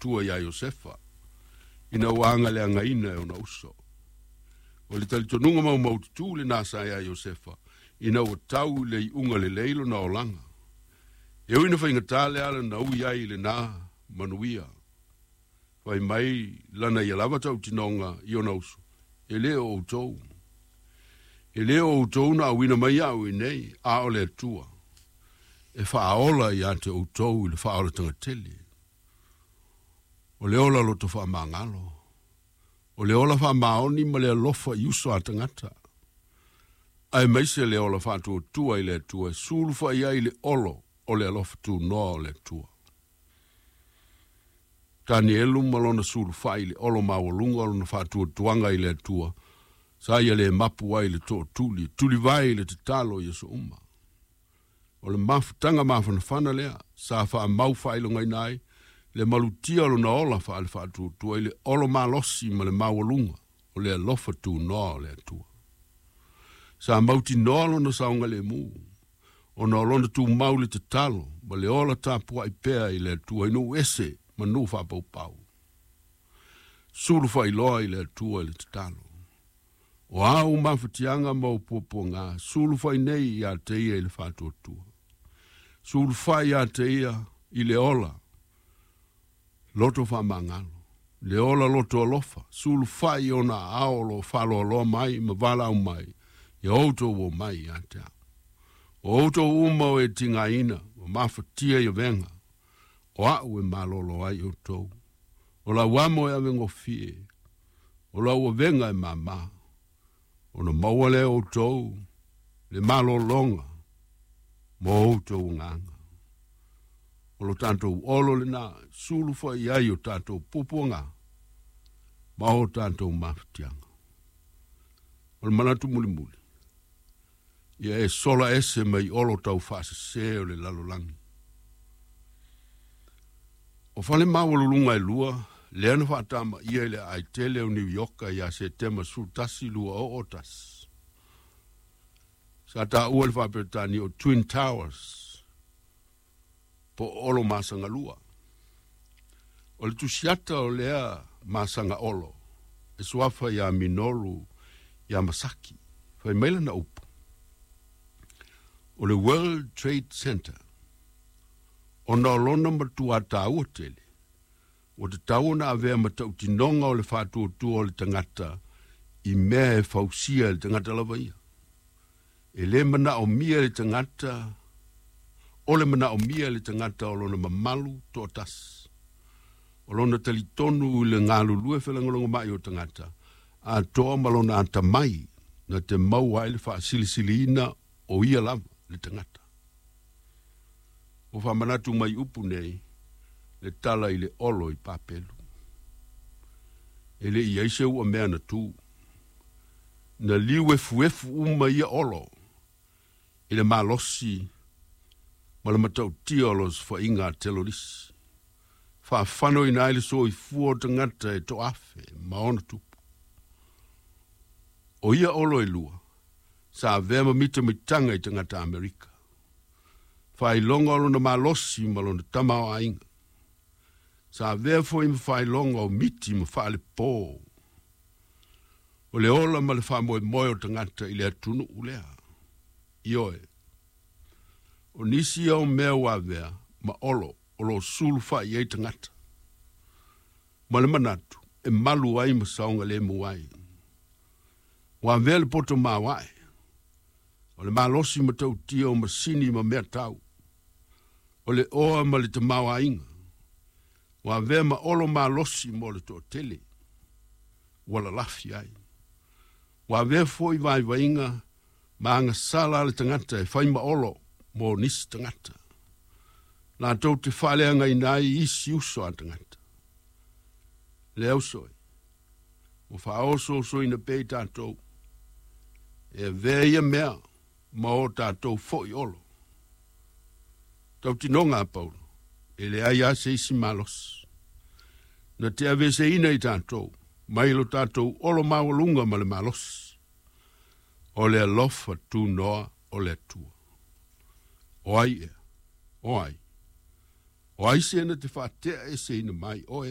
Atua iā Iosefa ina ua agaleagaina e ona uso. O le talitonuga maumaututu lenā sa iā Iosefa ina ua tau i le iuga lelei lona olaga. E ui ina faigata le ala na ui ai i lenā manuia, fai mai lana ia lava tautinoga i ona uso, E lē o outou. E lē o outou na auina mai iaʻu i inei, a o le Atua e faaola ia te outou i le faaolataga tele. O le ola loto faamagalo, o le ola faamaoni ma le alofa i uso a tagata, aemaise le ola faatuatua i le Atua e sulufa'i ai le olo o le alofa tunoa o le Atua. Tanielu ma lona sulufa'i i le olo maualuga o lona faatuatuaga i le Atua, sa ia le mapu ai le tootuli, tulivae i le tatalo i aso uma. O le mafutaga mafanafana lea sa faamau faailogaina ai le malutia o lona ola faale-faatuatua i le olo malosi ma le maualuga o le alofa tunoa o le Atua. Sa mautinoa lona saogalemu ona o lona tumau i le tatalo ma le ola tapuai pea i le Atua i nuu ese ma nuu faapaupau. Sulu faailoa i le Atua i le tatalo. O a ou mafatiaga ma ou puapuaga, sulufai nei ia te ia i le faatuatua. Sulufai ia te ia i le ola loto faamagalo, le ola loto alofa, sulufai i ona aao o lo o faaloaloa mai ma valaau mai, ia outou o mai ia te au. O outou uma o e tigaina ma mafatia i avega, o a'u e malolo ai outou. O lau amo e avegofie, o lau avega e māmā, ona maua lea e outou le malologa mo outou agaga. O lo tatou olo lenā, sulu foi i ai o tatou puapuaga ma o tatou mafatiaga. O le manatu mulimuli, ia e sola ese mai olo taufaasese o le lalolagi. O fale maualuluga e lua lea na faatamaia i le aai tele o Niu Ioka ia Setema 11, 2001. Sa taua i le Faa-Peretania o Twin Towers po o Olo Masagalua. O le tusiata o lea masaga olo e suafa iā Minoru Yamasaki, fai mai lana upu, O le World Trade Center, ona o lona matuā taua tele, ua tatau ona avea ma tautinoga o le faatuatua o le tagata i mea e fausia e le tagata lava ia. E le manaomia e le tagata, o le manaomia e le tagata o lona mamalu toatasi, o lona talitonu i le galulue felagolagomai o tagata atoa ma lona atamai na te maua ai le faasilisiliina o ia lava le tagata. Ua faamanatu mai upu nei le tala i le olo i Papelu. E le i ai se ua mea na tu. Na liu efuefu uma ia olo i le malosi ma le matautia o losofaiga a telolisi. Faafanoina ai le soifua o tagata e toafe ma ona tupu. O ia olo e lua, sa avea ma mitamitaga i tagata Amerika. Faailoga o lona malosi ma lona tamaoaiga. Sa avea foi ma faailoga o miti ma faalepo o le ola ma le faamoemoe o tagata i le atunuu lea. Ioe, o nisi ia o mea ua avea ma olo o lo o sulufa'i ai tagata, ma le manatu e malu ai ma saogalemu ai. Ua avea le poto maoae, o le malosi matautia o masini ma mea tau, o le oa ma le tamaoaiga, ua avea ma olo malosi mo le toatele ua lalafi ai. Ua avea foi vaivaiga ma agasala a le tagata e fai ma olo mo nisi tagata, latou te faaleagaina ai isi uso a tagata. Le auso e, ua faaosoosoina pea i tatou e avea ia mea ma o tatou foi olo. Tautinoga a Paulo, e leai lava se isi malosi na te aveeseina i tatou mai lo tatou olo maualuga ma le malosi o le alofa tunoa o le Atua. O ai ea? O ai? O ai se na te faateaeseina mai oe?